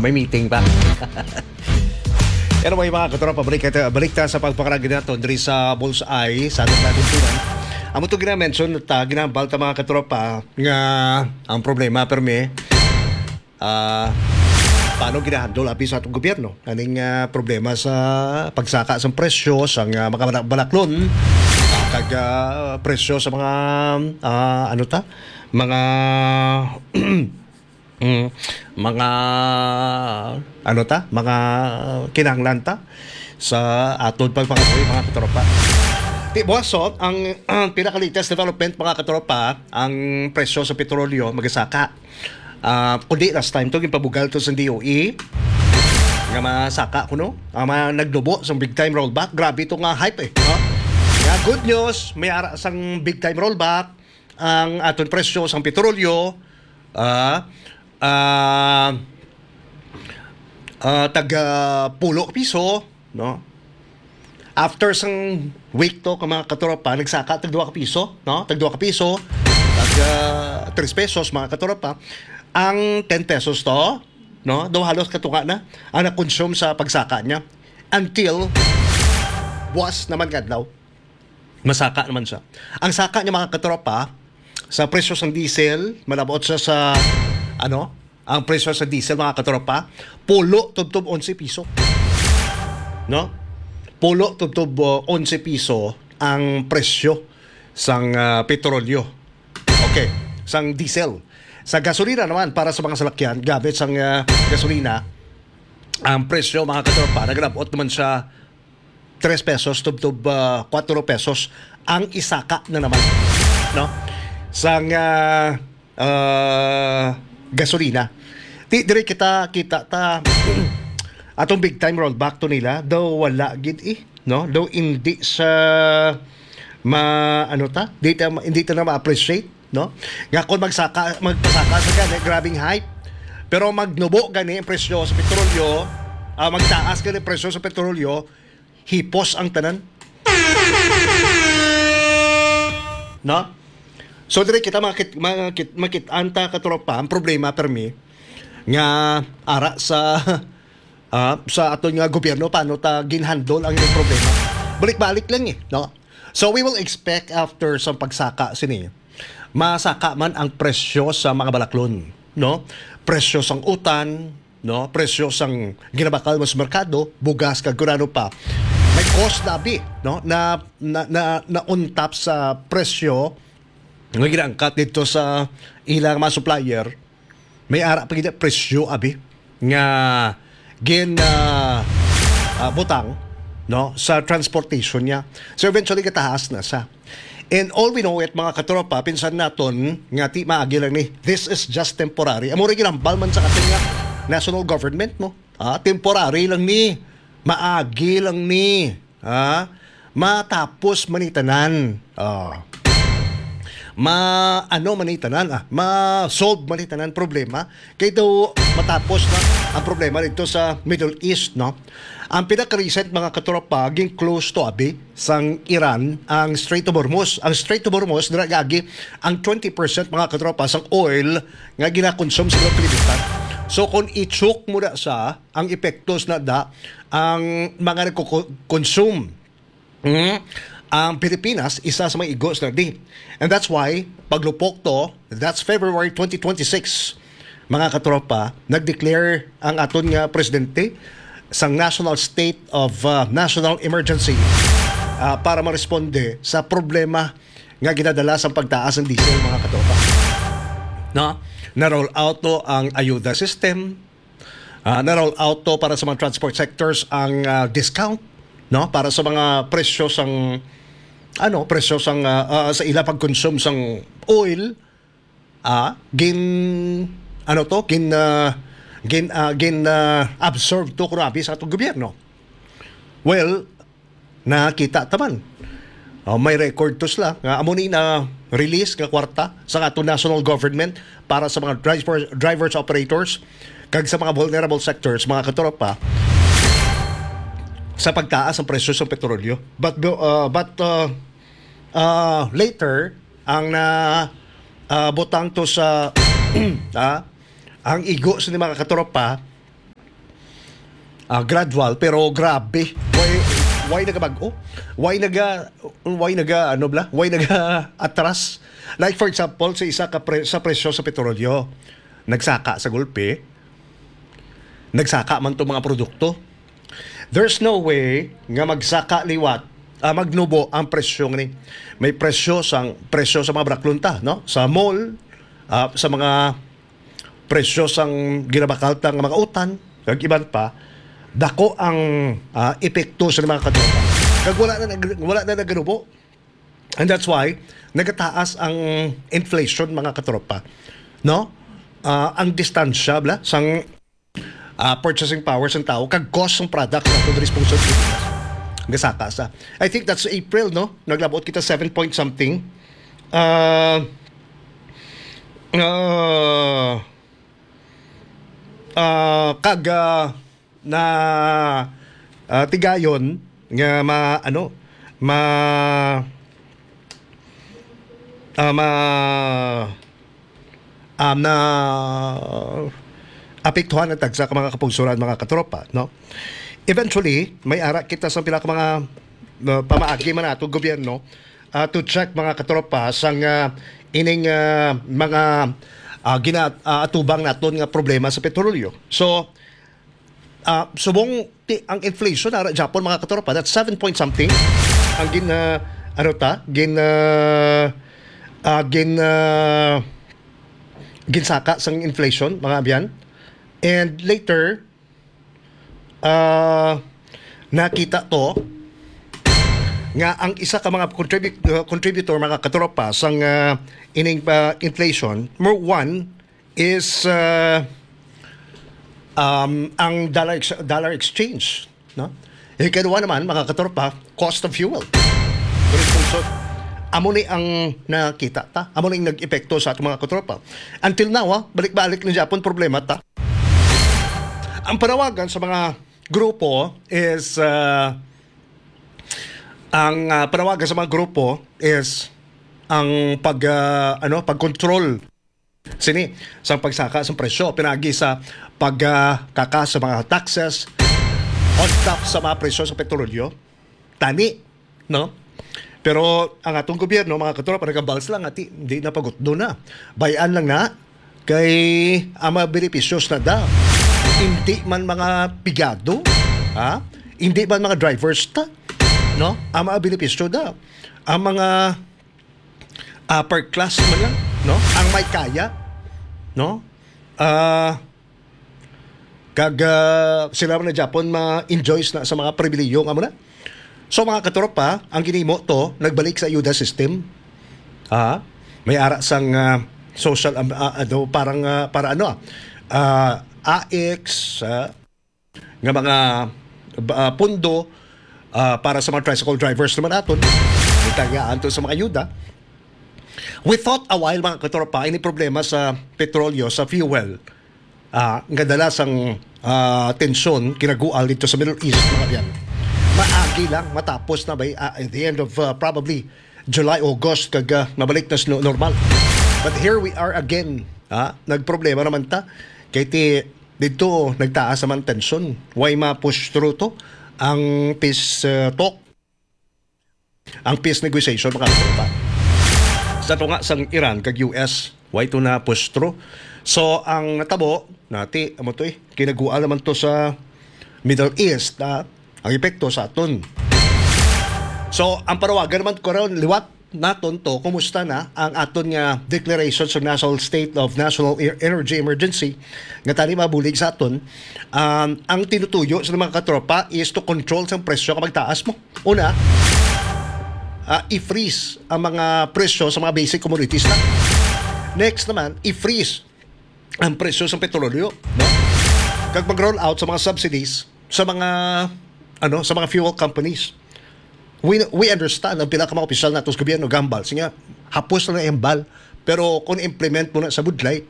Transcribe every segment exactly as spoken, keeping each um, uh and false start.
May meeting pa. Anyway, mga katropa, balik, ta- balik ta sa pagpangarag nato diri sa Bullseye sa atong natin. Amo to gina-mention ta, ginahambal ta, mga katropa, nga ang problema permi, ah, paano ginahandle abi sa atong gobyerno aning, ah, problema sa pagsaka sang presyo sang, ah, mga bala- balaklon, ah, kag, ah, presyo sa mga, ah, ano ta, mga mm, mga, ano ta, mga kinahanglan ta sa aton pagpangabuhi, mga katropa. Ti buwason ang, ang pinaka-latest development, mga katropa, ang presyo sa petrolyo magasaka. Ah, kundi last time to, ginpabugal to sa D O E nga masaka kuno ang mga nagdubo sa big time rollback. Grabe to nga hype, eh, no? Nga good news, may ara sang big time rollback ang aton presyo sang petrolyo, ah, ah, ah, tag, ah, pulo ka piso, no? After sang week to, ka mga katropa, nagsaka tag duha ka piso, no? Tag duha ka piso, tag, ah, tres pesos, mga katropa. Ang ten pesos to, no? Daw halos katunga na ang na-consume sa pagsaka niya. Until buwas naman nga adlaw, masaka naman siya. Ang saka niya, mga katropa, sa presyo sang diesel, malabot siya sa, ano, ang presyo sa diesel, mga katropa, pulo tubtob onse piso. No? Pulo tubtob, uh, onse piso ang presyo sang, uh, petrolyo. Okay, sang diesel. Sa gasolina naman, para sa mga salakyan, gamit sang, uh, gasolina, ang presyo, mga katropa, naglabot naman siya tres pesos tubtob, ah, kuwatro pesos ang isaka na naman, no? Sang, ah, ah, gasolina. Ti, dire kita kita ta atong big time rollback to nila, daw wala gid, eh, no? Daw hindi sa ma-, ano ta? Di ta, hindi ta na ma-appreciate, no? Nga kung magsaka, magpasaka sa gani, grabing hype. Pero magnubo gani ang presyo sa petrolyo, ah, magtaas gani ang presyo sa petrolyo, hipos ang tanan. No? So, dire kita makit, makit, makit-an ta, katropa, ang problema permi nga ara sa, ah, sa aton nga gobyerno, paano ta ginhandle ang ilang problema. Balik-balik lang, eh, no? So, we will expect after sa pagsaka sini, masaka man ang presyo sa mga balaklon, no? Presyo sang utan, no? Presyo sang ginabakal mo sa merkado, bugas, kag kun ano pa. May cost na abi, no? Na, na, na, na on top sa presyo nga ginaangkat dito sa ilang mga supplier, may ara pa gid presyo abi nga gin, ah, ah, butang, no, sa transportation niya. So, eventually, gataas na sa. And all we know it, mga katropa, pinsan naton nga ti maagi lang ni. This is just temporary. Amo ra ginambal man sa atin nga national government, no? Ah, temporary lang ni. Maagi lang ni. Ah, matapos man ni tanan. Ah. Ma, ano man ni tanan, ah, ma-solve man ni tanan problema. Kay daw matapos na ang problema dito sa Middle East, no? Ang pinaka-recent, mga katropa, ging close to abi sang Iran ang Strait of Hormuz. Ang Strait of Hormuz, dira gagi ang twenty percent, mga katropa, sang oil nga ginakonsume sa mga kalibutan. So, kung i-choke mo na sa ang epektos na da ang mga nagko-consume, mm, ang Pilipinas, isa sa mga igos na di. And that's why, paglupok to, that's February twenty twenty-six, mga katropa, nag-declare ang aton nga presidente sang National State of, uh, National Emergency, uh, para maresponde sa problema nga ginadala sa pagtaas ng diesel, mga katropa. No? Na-roll out to ang ayuda system, ah, na-roll out to para sa mga transport sectors ang, ah, discount, no? Para sa mga presyo sang, ano, presyo sang, ah, ah, sa ila pag-consume sang oil, ah, gin, ano to, gin, ah, gin, ah, gin, ah, absorb to, grabe, sa atong gobyerno. Well, nakita taman. Oh, may record to sila nga amo ni na release nga kwarta sa ato national government para sa mga driver, drivers, operators, kag sa mga vulnerable sectors, mga katropa, sa pagtaas ang presyo sa petrolyo. But, uh, but, uh, uh, later, ang na, uh, butang to sa, ah, ang igo sa mga katropa, Ah, gradual, pero grabe. Why, why nagabag-o? Why naga, why naga, ano bla? Why naga atras? Like, for example, sa isa ka pre-, sa presyo sa petrolyo, nagsaka sa gulpi, nagsaka man to mga produkto. There's no way nga magsaka liwat, ah, magnubo ang presyo ni. May presyo sang, presyo sa mga braklon ta, no? Sa mall, ah, sa mga presyo sang ginabakal ta nga mga utan, kag iban pa, dako ang, ah, epekto sa mga katropa. Kag wala na nag-, wala na naganubo. And that's why nagataas ang inflation, mga katropa. No? Ah, ang distansya bla sang, ah, purchasing power sang tao kag cost sang products nato diri sa pungsod Pilipinas. Gasaka sa. I think that's April, no? Naglabot kita seven point something. Ah, ah, ah, kag, ah, na, ah, tigayon nga ma-, ano, ma-, ah, ma-, um, na apektuhan ang tagsa ka mga kapugsuran, mga katropa, no? Eventually, may ara kita sa pila ka mga, uh, pamaagi man nato gobyerno, uh, to check, mga katropa, sang, uh, ining, uh, mga, uh, gina-, uh, atubang naton nga problema sa petrolyo. So, uh, subong ti-, ang inflation ara Japon, mga katropa, that's seven point something ang gin, uh, ano ta, gin, uh, uh, gin, uh, ginsaka sang inflation, mga abyan. And later, ah, nakita to nga ang isa ka mga contribu-, uh, contributor, mga katropa, sang, uh, ining, uh, inflation, number one is, uh, um, ang dollar ex-, dollar exchange, no? Ikaduha naman, mga katropa, cost of fuel. Pero kung so, amo ni ang nakita ta, amo ni ang nag-epekto sa atong mga katropa. Until now, ah, balik-balik ni Japon problema ta. Ang panawagan sa mga grupo is, ah, ang, ah, panawagan sa mga grupo is ang pag, ah, ano, pag-control sini sang pagsaka sang presyo, pinaagi sa pagkaka sa mga taxes on top sa mga presyo sa petrolyo. Tani, no? Pero ang atong gobyerno, mga katropa, nagabals lang, ati, hindi na pagutdo na. Bayan lang na, kay ang mga benepisyos na da. Hindi man mga pigado, ha? Hindi man mga drivers ta, no? Ang mga benepisyo da. Ang mga upper class man lang, no? Ang may kaya, no? Ah, kag, ah, sila man na Japon ma-enjoys na sa mga pribilehiyo nga mo na. So, mga katropa, ang ginimo to, nagbalik sa ayuda system. Ah, may ara sang, ah, social, um, ah, ano, parang, ah, para ano, ah, ah, AICS, ah, nga mga, ah, pundo, ah, para sa mga tricycle drivers naman aton. Itayaan to sa mga ayuda. We thought a while, mga katropa, ini problema sa petrolyo, sa fuel, ah, nga dala sang, ah, tensyon, kinagual dito sa Middle East, mga biyan. Maagi lang, matapos na ba, ah, at the end of, ah, probably July, August, kag, ah, mabalik na sa no-, normal. But here we are again, ah, nagproblema naman ta. Kay ti, dito, nagtaas naman tensyon. Why ma-push through to? Ang peace, ah, talk, ang peace negotiation, mga katropa. Sa tunga sang Iran kag U S, why to na push through? So, ang natabo, nati, amo to eh, kinagual naman to sa Middle East, ah, ang epekto sa aton. So, ang panawagan naman karon liwat naton to, kumusta na ang aton nga declaration sa National State of National E-, Energy Emergency, nga tani mabulig sa aton, um, ang tinutuyo sa mga katropa is to control sang presyo kapag taas mo. Una, ah, i-freeze ang mga presyo sa mga basic commodities na. Next naman, i-freeze ang presyo sa petrolyo, no? Kag mag-roll out sa mga subsidies sa mga, ano, sa mga fuel companies. We, we understand ang pila ka mga opisyal nato sa gobyerno gambal. Sige, hapos na ang hambal. Pero kung implement mo na sa budlay,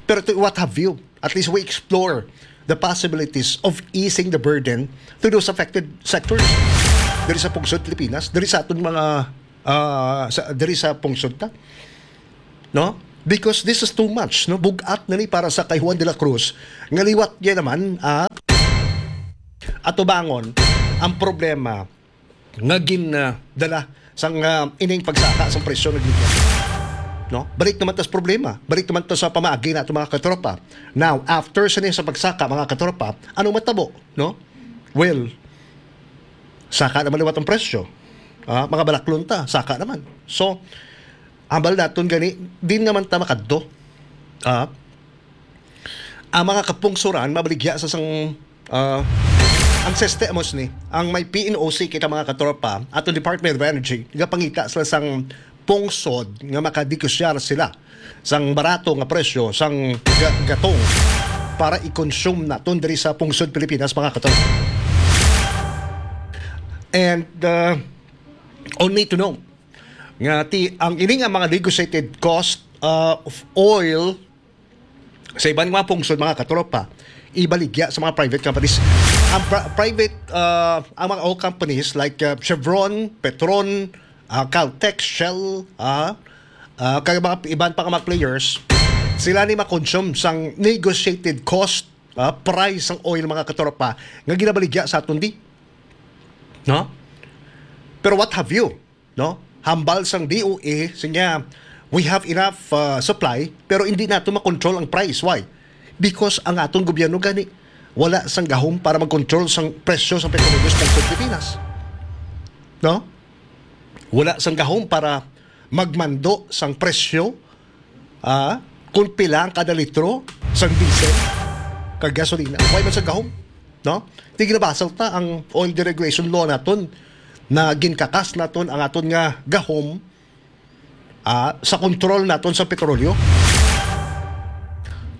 pero to what have you, at least we explore the possibilities of easing the burden to those affected sectors. Diri sa pungsod Pilipinas, diri sa aton mga, ah, sa, diri sa pungsod ta. No? Because this is too much, no? Bugat na ni para sa kay Juan de la Cruz. Nga liwat niya naman, ah, atubangon ang problema nga gin, ah, dala sang, ah, ining pagsaka sang presyo nga gikan. No? Balik naman tas problema. Balik naman to sa pamaagi nato, mga katropa. Now, after sa, sa pagsaka, mga katropa, anong matabo? No? Well, saka naman liwat ang presyo. Ah, mga balaklon ta, saka naman. So, ambal naton gani, din naman ta makadto. Ah, ang mga kapungsoran mabaligya sa sang, ah, ang sistema ni, ang may P N O C kita, mga katropa, ato Department of Energy, nagapangita sila sang pungsod nga makanegosyar sila sang barato nga presyo sang ga-, gatong para i-consume naton diri sa pungsod Pilipinas, mga katropa. And, uh, only to know nga ti ang ini nga mga negotiated cost, uh, of oil sa iban nga mga pungsod, mga katropa, ibaligya sa mga private companies. Ang pri-, private, uh, ang mga oil companies like, uh, Chevron, Petron, ah, Caltex, Shell, ah, ah, kag mga iban pa nga mga players, sila ni makonsume sang negotiated cost, ah, price sang oil, mga katropa, nga ginabaligya sa aton di. No? Pero what have you? No? Hambal sang D O E, siya, "We have enough, ah, supply, pero hindi nato makontrol ang price." Why? Because ang aton gobyerno gani wala sang gahom para mag-control sang presyo sang petrolyo sa Pilipinas. No? Wala sang gahom para magmando sang presyo, ah, kung pila ang kada litro sang diesel kag gasolina. Wala man sang gahom, no? Di ginabasol ta ang oil deregulation law naton na ginkakas naton ang aton nga gahom, ah, sa kontrol naton sa petrolyo.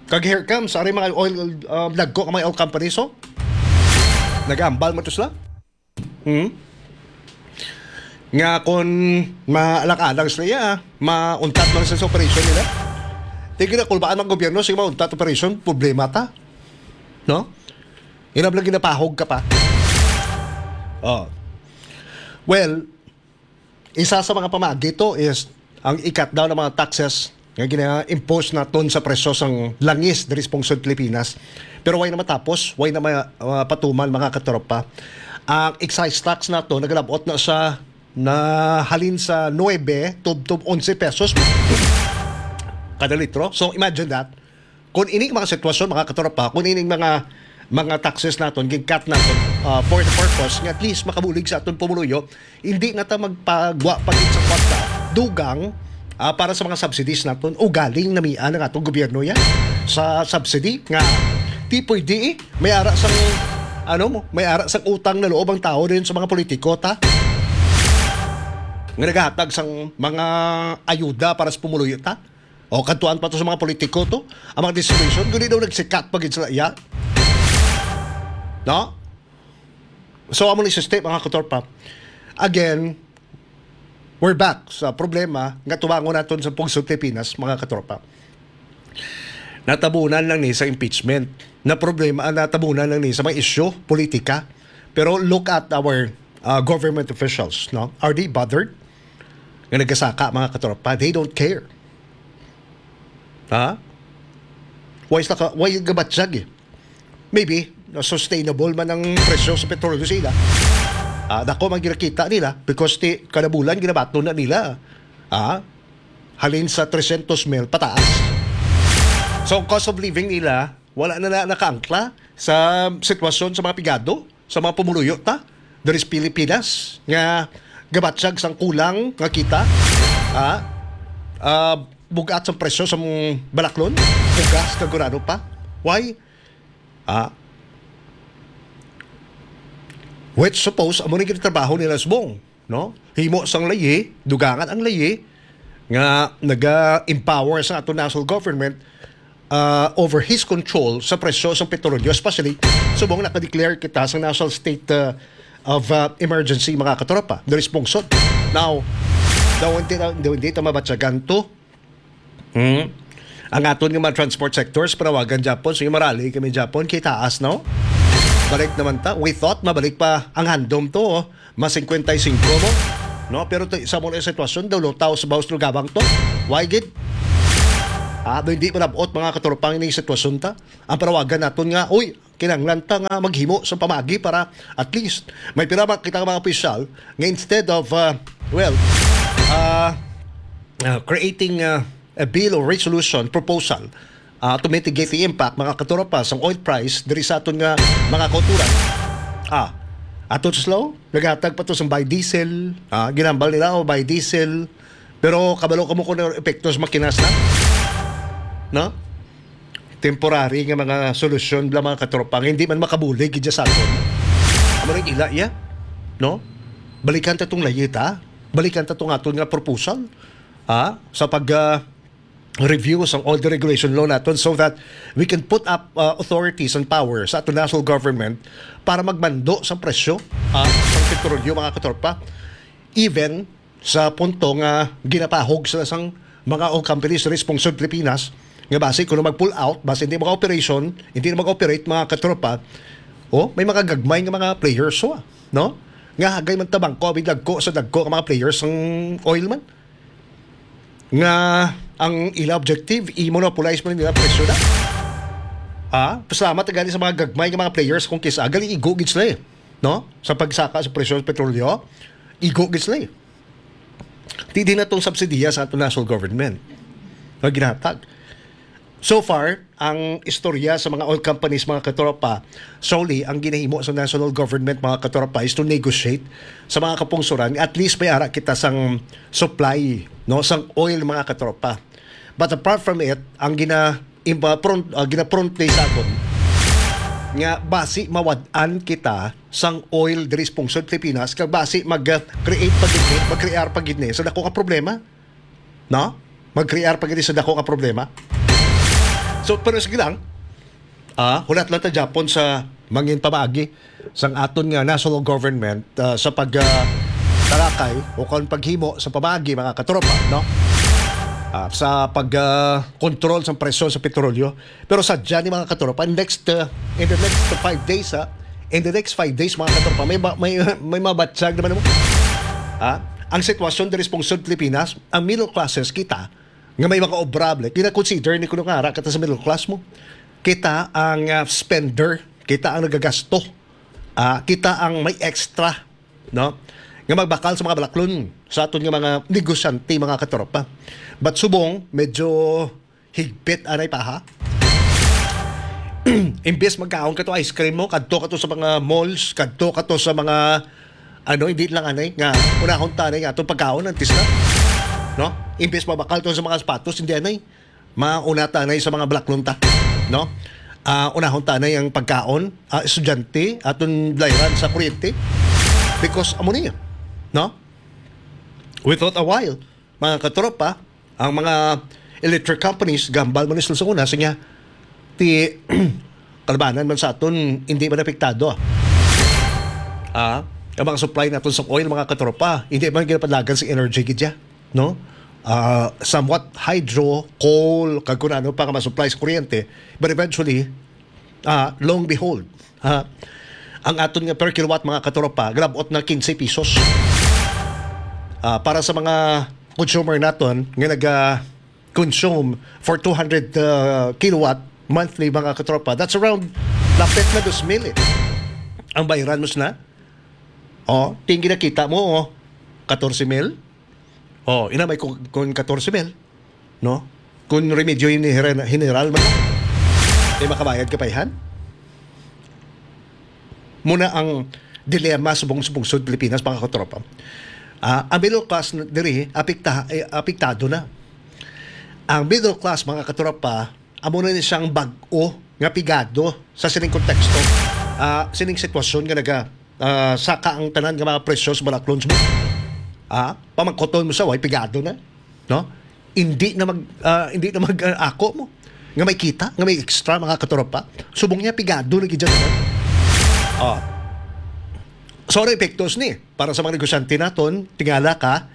Kag here comes, ari mga oil, ah, dagko nga mga oil companies, so, nag-ambal man to sila. Hmm? Nga kung maalang-alang sila, iya, mauntat man sa operation nila. Tigil na, kulbaan ang gobyerno, sige, mauntat operation, problema ta. No? Hirap lang ginapahog ka pa. Oh. Well, isa sa mga pamaagi to is ang i-cut down ng mga taxes nga gina-impose naton sa presyo sang langis diri sa pungsod Pilipinas. Pero way na matapos, way na ma-, mapatuman, mga katropa. Ang excise tax nato nagalabot na sa, na halin sa nuebe tubtob onse pesos kada litro. So imagine that. Kung ini mga sitwasyon, mga katropa, kung ini mga, mga taxes naton, gin-cut naton, ah, for the purpose nga at least makabulig sa aton pumuluyo, hindi na ta magpagwa pa gid sa kwarta, dugang, ah, para sa mga subsidies naton. Ugaling namian ang atong gobyerno yan sa subsidy nga di pwede, eh. May ara sang, ano mo, may ara sang utang na loob ang tao din sa mga politiko, ta? Nga naghahatag sang mga ayuda para sa pumuluyo, ta? O, kadtuan pa to sa mga politiko to. Ang mga distribution, guni daw nagsikat pa gid sila iya. No? So, amo ni sistema, mga katropa. Again, we're back sa problema nga tubangon naton sa pungsod Pilipinas, mga katropa. Natabunan lang ni sa impeachment. Na problema, ah, natabunan lang ni sa mga isyu, politika. Pero look at our, uh, government officials, no? Are they bothered? Nga nagasaka, mga katropa, they don't care. Ha? Why sila ka, why gabatyag, eh? Maybe, na sustainable man ang presyo sa petrolyo sa ila. Ah, dako man ginakita nila because ti, kada bulan ginabaton na nila. Ah, halin sa trescientos mil pataas. So, ang cost of living nila, wala na, na nakaangkla sa sitwasyon sa mga pigado, sa mga pumuluyo ta, diri sa Pilipinas, nga gabatyag sang kulang nga kita, ah, ah, bugat sang presyo sa mga balaklon, bugas, kag kung ano pa. Why? Ah, which suppose, amo ni ginatrabaho nila subong, no? Himo sang layi, dugangan ang layi, nga naga-empower sa ato national government, ah, over his control sa presyo sa petrolyo, especially subong naka-declare kita sa national state, ah, of, ah, emergency, mga katropa, the response. Now, daw hindi, daw hindi ta mabatyagan to. Hmm? Ang aton nga mga transport sectors, panawagan Japon, sige, marali kami Japon, kay taas, no? Balik naman ta. We thought mabalik pa ang handom to, oh. Mas singkwenta y singko mo. No, pero to, sa mo na sitwasyon daw, lutaw sa bawas lugabang to. Why gid? Ah, do hindi malabot, mga katropa, ang ining sitwasyon ta. Ang panawagan naton nga, uy, kinahanglan ta nga maghimo sa pamaagi para at least may pira ba kita nga mga opisyal nga instead of, uh, well, uh, uh, creating, uh, a bill or resolution proposal, uh, to mitigate the impact, mga katropa, sang oil price diri sa aton nga mga kauturan. Ah, ato slow, naghatag pa to sang biodiesel, ah, ginambal nila o biodiesel, pero kabalo kamo kung ano epekto sa makinas na? No? Temporary nga mga solusyon bala, mga katropa, nga hindi man makabulig gid sa aton. Amo rin ila iya, no? Balikan ta tong layita, balikan ta tong aton nga proposal, ha? Sa pag, ah, review sang oil deregulation law naton so that we can put up, uh, authorities and power sa aton national government para magmando sa presyo, ah, sa petrolyo, mga katropa. Even sa punto nga ginapahog sila sang mga oil companies diri sa pungsod Pilipinas nga basi kuno mag-pull out, basi hindi mag-operation, hindi na mag-operate, mga katropa. Oh, may mga gagmay nga mga players, oh, no? Nga hagay man tabang ko, abig dagko sa dagko nga mga players ang oil man. Nga ang ila objective, i-monopolize man nila presyo na. Ha? Pasalamat gani sa mga gagmay nga mga players kung kisa, gali igo gid sila eh. No? Sa pagsaka sa presyo sa petrolyo, igo gid sila eh. Di din na tong subsidiya sa ato national government nga ginatag. So far, ang istorya sa mga oil companies, mga katropa, solely ang ginahimo sa national government, mga katropa, is to negotiate sa mga kapungsuran. At least may ara kita sang supply, no, sang oil, mga katropa. But apart from it, ang gina imba front, ah, gina-front day sa aton nga basi mawad-an kita sang oil diri sa pungsod Pilipinas, kag basi mag-create pa gid ni, mag-create pa gid ni sa dako nga problema. No? Mag-create pa gid sa dako nga problema. So, pero sige lang. Ah, hulat lang ta gyapon sa mangin pamaagi sang aton nga national government, ah, sa pag, ah, tarakay o kon paghimo sa pamaagi, mga katropa, no? Ah, sa pag, ah, control sa presyo sa petrolyo. Pero sadya ni, mga katropa, next, ah, in the next five days, ha, in the next five days, mga katropa, may ba, may, may mabatyag naman mo. Ha? Ang sitwasyon diri sa pungsod Pilipinas, ang middle classes kita, nga may mga obrable, kina-consider ni kuno nga ara kita sa middle class mo. Kita ang, ah, spender, kita ang nagagasto, ah, kita ang may extra, no? Nga magbakal sa mga balaklon sa aton nga mga negosyante, mga katropa. But subong, medyo higpit anay pa, ha? Imbes magkaon ka to ice cream mo, kadto ka to sa mga malls, kadto ka to sa mga, ano, hindi lang anay nga unahon ta anay nga atong pagkaon, antis na, no? Imbes mabakal to sa mga sapatos, hindi anay. Mauna ta anay sa mga balaklon ta, no? Ah, unahon ta anay ang pagkaon, ah, estudyante, aton layran sa kuryente. Because amo niya, no? We thought a while, mga katropa, ang mga electric companies, gambal man sila sa una, sa niya, ti, kalabanan man sa aton, hindi man apektado, ah. Ah, ang mga supply naton sa oil, mga katropa, hindi man ginapadagan sa energy gid siya, no? Ah, somewhat hydro, coal, kag kung ano pa nga ma-supply sa kuryente. But eventually, ah, long behold, ha, ang aton nga per kilowatt, mga katropa, galabot na quince pesos. Ah, para sa mga consumer naton nga naga-consume for two hundred, ah, kilowatt monthly, mga katropa, that's around lapit na dos mil eh. Ang bayaran mo na. Oh, tingin nakita mo, oh, katorse mil. Oh, ina may kung, kung katorse mil, no? Kung remedyo yung hinera-, general man, eh, makabayad ka pa ihan? Muna ang dilema sa bung-, sa bungsod Pilipinas, mga katropa. Ah, ang middle class na diri, apekta-, eh, apektado na. Ang middle class, mga katropa, amo na ni siyang bag-o nga pigado sa sining konteksto, ah, sining sitwasyon nga naga, ah, saka ang tanan nga mga presyo sa balaklon sa mga, ah, pamangkoton mo sa way pigado na, no? Hindi na mag, ah, hindi na mag, ah, ako mo nga may kita, nga may extra, mga katropa. Subong niya pigado na gid siya tanan. Ah. Sorry, epektos ni para sa mga negosyante naton, tingala ka,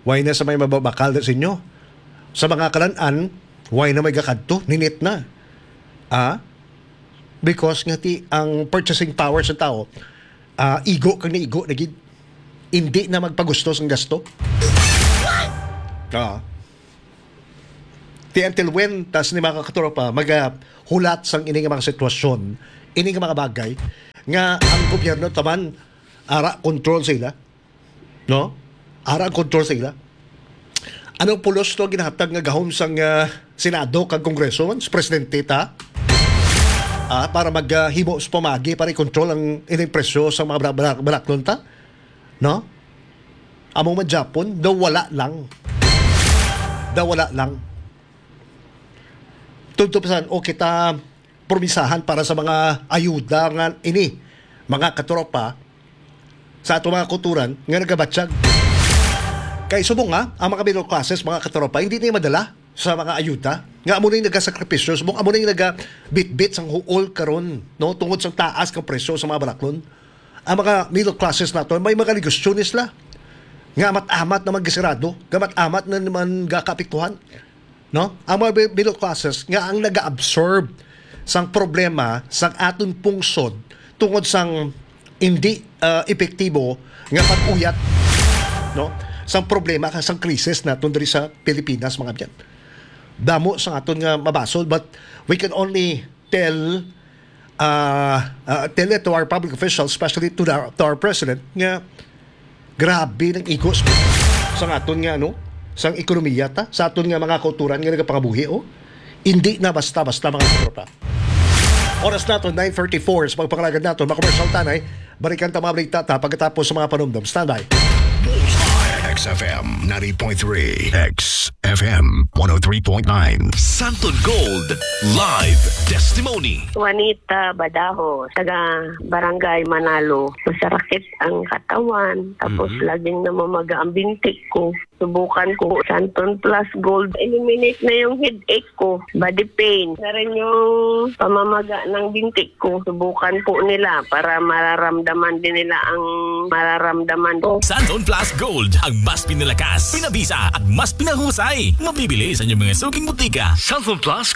way na sa may mababakal na sa inyo. Sa mga kalan-an, way na may gakadto, ninit na. Ah? Because nga ti ang purchasing power sa tao, ah, igo kag naigo na gid. Hindi na magpagustos ang gasto. Ah. Ti until when, tas ni mga katropa, magahulat sang ini nga mga sitwasyon, Ini nga mga bagay nga ang gobyerno taman ara control sa ila, no? Ara ang control sa ila. Anong pulos to ginahatag nga gahom sang, ah, Senado kag Kongreso man sa presidente ta? Ah, para maghimo sa pamagi para i-control ang ining presyo sa mga bra-, bra-, baraklon ta? No? Amo man Japon, daw wala lang. Daw wala lang. Tubtob sa, o kita promisahan para sa mga ayuda nga ini, mga katropa, sa ato mga kulturan nga nagabatyag. Kay subong nga, ang mga middle classes, mga katropa, hindi niya madala sa mga ayuda. Nga amo na yung nagasakripisyo, subong amo na yung nagabitbit sang huol karon, no? Tungod sa taas ng presyo sa mga baraklon. Ang mga middle classes nato, may mga negosyo ni sila. Nga amat-amat naman gasirado, nga amat-amat na naman gakaapektuhan. No? Ang mga bi-, middle classes nga ang nag-absorb sang problema sang aton pungsod tungod sang hindi, ah, epektibo nga pag-uyat, no? Sang problema ka sang krisis naton diri sa Pilipinas, mga abyan. Damo sang aton nga mabasol, but we can only tell, ah, ah, tell it to our public officials, especially to the, to our president, nga grabe ng igos sang aton nga, ano, sang ekonomiya ta, sa aton nga mga kauturan nga nagapangabuhi, oh. Hindi na basta-basta, mga katropa. Oras nato, nine thirty-four. Sa pagpangalagad nato, mga commercial tanay, balikan ta mga balita ta pagkatapos sa mga panumdom. Standby. Bullseye, X F M ninety point three, X F M one oh three point nine. Santon Gold Live Testimony. Juanita Badaho, taga Barangay Manalo. Masarakit ang katawan, tapos Mhm. laging namamaga ang binti ko. Subukan ko Santon Plus Gold. Eliminate na yung headache ko, body pain. Na rin yung pamamaga ng binti ko. Subukan po nila para mararamdaman din nila ang mararamdaman ko. Santon Plus Gold, ang mas pinalakas, pinabisa, at mas pinahusay. Mabibili sa inyong mga suking butika. Santon Plus